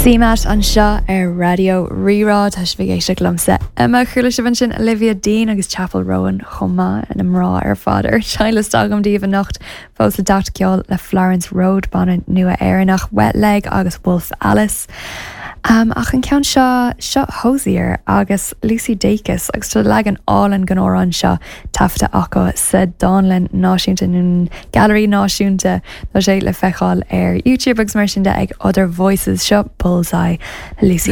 CMAT anseo ar Raidió Rí-Rá. Tá sibh ag éisteacht liomsa, Emma. Chuala sibh ansin Olivia Dean agus Chappell Roan chomh maith, na mná ar fad ar an seinnliosta agam daoibh anocht. Fós le teacht ceol le Florence Road, banna nua Éireannach, Wet Leg agus Wolf Alice. Ach an ceann seo, seo Hozier agus Lucy Dacus agus tá leagan álainn den amhrán seo taifeadta acu sa Dánlann Náisiúnta nó Gailearaí Náisiúnta. Tá sé le feiceáil ar YouTube agus mar sin de ag Other Voices. Seo Bullseye le Lucy.